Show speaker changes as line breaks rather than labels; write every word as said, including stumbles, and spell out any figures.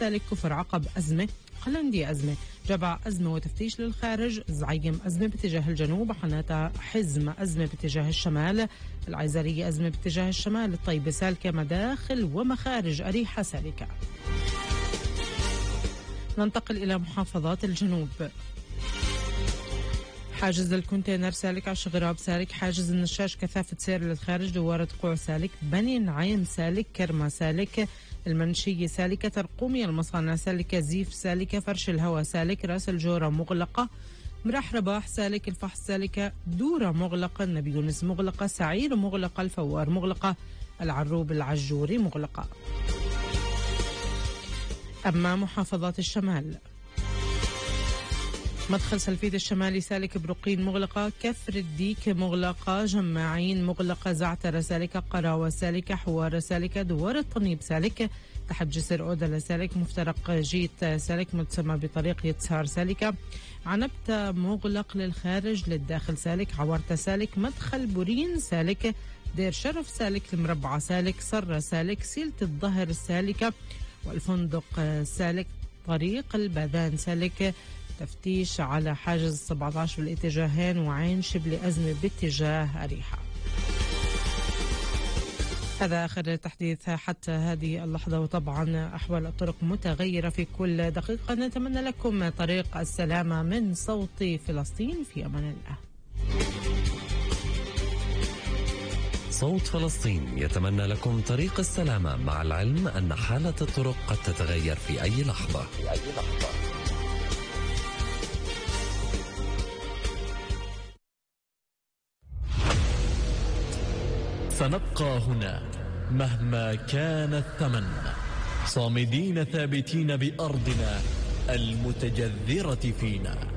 سالك كفر عقب أزمة، قلندي أزمة، جبع أزمة وتفتيش للخارج، زعيم أزمة باتجاه الجنوب، حناتا حزم أزمة باتجاه الشمال، العيزرية أزمة باتجاه الشمال، الطيبة سالكة، مداخل ومخارج أريحة سالكة. ننتقل إلى محافظات الجنوب. حاجز الكونتينر سالك، عش غراب سالك، حاجز النشاش كثافة سير للخارج، دوارة قوع سالك، بني نعيم سالك، كرمة سالك، المنشية سالكة، ترقومي المصانع سالكة، زيف سالكة، فرش الهواء سالك، راس الجورة مغلقة، مراح رباح سالك، الفحص سالكة، دورة مغلقة، النبي يونس مغلقة، سعير مغلقة، الفوار مغلقة، العروب العجوري مغلقة. أما محافظات الشمال، مدخل سلفيد الشمالي سالك، برقين مغلقة، كفر الديك مغلقة، جماعين مغلقة، زعتر سالكة، قراوة سالكة، حوار سالكة، دوار الطنيب سالك، تحت جسر أودلا سالك، مفترق جيت سالك متسمى بطريق يتسار سالكة، عنبتة مغلق للخارج للداخل سالك، عورتة سالك، مدخل بورين سالك، دير شرف سالك، المربعة سالك، صرة سالك، سيلة الظهر سالكة، والفندق سالك، طريق البادان سالك، تفتيش على حاجز سبعة عشر بالاتجاهين، وعين شبل أزمة باتجاه أريحة. هذا آخر تحديث حتى هذه اللحظة، وطبعا أحوال الطرق متغيرة في كل دقيقة. نتمنى لكم طريق السلامة من صوت فلسطين، في أمان الله.
صوت فلسطين يتمنى لكم طريق السلامة، مع العلم أن حالة الطرق قد تتغير في أي لحظة. في أي لحظة.
سنبقى هنا مهما كان الثمن، صامدين ثابتين بأرضنا المتجذرة فينا.